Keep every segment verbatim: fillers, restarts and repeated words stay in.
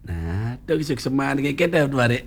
Nah, tu kisah kesemaan dengan kita tu hari.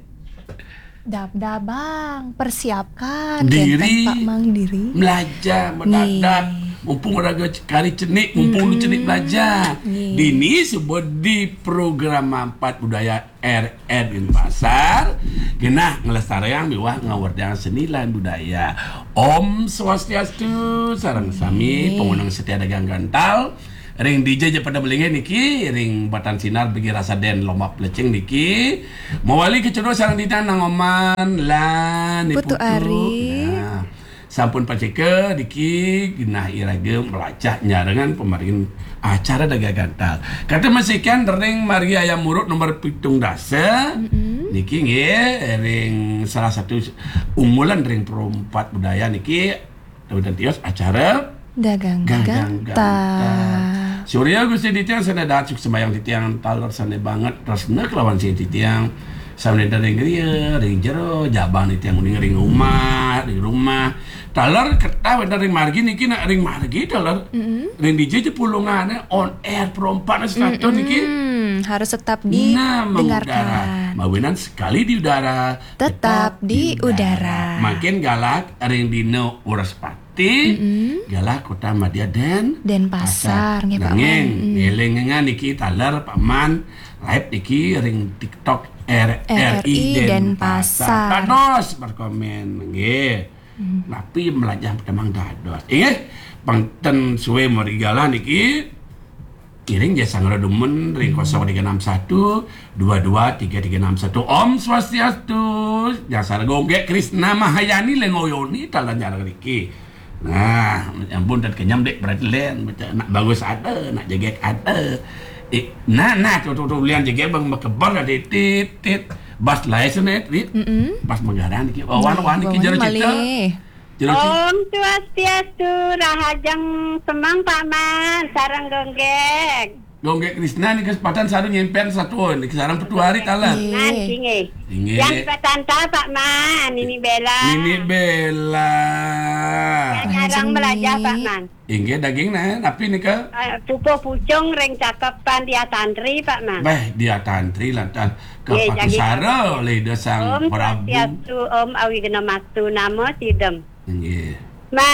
Dap-dap, Bang, persiapkan Diri. Kenten, Pak Mang, diri. Belajar Nggih. Mendadak. Mumpung orang kari cenik, mumpung mm cenik belajar. Nggih. Dini sebut di program empat budaya R R Denpasar. Genah ngelestariang miwah ngawerdiang seni lan budaya. Om Swastiastu, sareng sami, nggih, pangundang setia dagang gantal. Ring dija ja pada melingin niki, ring Batan Sinar bagi rasa den lomba pelecing niki. Mawali kecedok sareng titiang Nang Oman lan Ni Putu Putu. Ari. Nah, sampun paceka niki genah iraga melajah nyarengan pamaringin acara dagang gantal. Kata masikan ring margi Ayam Urut nomor pitung dasa. Niki nggih ring salah satu unggulan ring Pro Empat Budaya niki. Daud dan Tios acara Dagang Gagang gantal. Surya Gusti titiang sana dahat suksmayang titiang taler sana banget tresna kelawan sih titiang. Sama ring griya, ring jero, jabang titiang uning ring rumah, ring rumah. Taler ketah wénten ring margi niki nak ring margi taler. Ring dija ja pulungané on air Pro Empat setata niki. Hmm, harus tetap Nah, mengudara. didengarkan. Mawinan sekali di udara, Tetap di udara. Makin galak ring dina Wrespati, galak Kota Madya Den Denpasar, nggih, Pak Nanging, Man. Mm. Ngelingan niki taler Pak Man live niki ring TikTok R R I R R I Denpasar. Denpasar. Dados berkomen nggih. Napi melajah perkembangan dados. Inggih, pang ten suwe mari galah niki. Kiring ja sanggra dumun ring kosong tiga enam satu dua dua tiga tiga enam satu. Om Swastiastu. Dasar Gonggek Krisna Mahayani lengoyoni talan jarang riki. Nah, ampun, tet kenyam dek berarti len. Nak bagus ada, nak jegek ada. Eh, nah, nah, tu, tu, tu, lian jegek bang makebar ada tit, tit. Bas lai senet, tit. Bas menggaran ki. Wan, wan ki jero cita. Jero cita. Om Swastiastu, rahajeng semeng Pak Man, sareng Gonggek. Gonggek Krisna ni kesempatan sareng nyempen satu ni sareng petuari talan. Nggih. Nah, sini. Inggih. Yang patanta Pak Man, ini Bella. Ini Bella. Yang nyarang Ajeng melajah ni. Pak Man. Inggih daging nah, napi nika? Eh, pupuh pucung ring cakepan dia tantri Pak Man. Beh, dia tantri lantas Nggih, kapatu daging. sara oleh Ida Sang Om Prabu. Swastiastu, Om Awighnamastu Namo Sidem. Inggih. Ma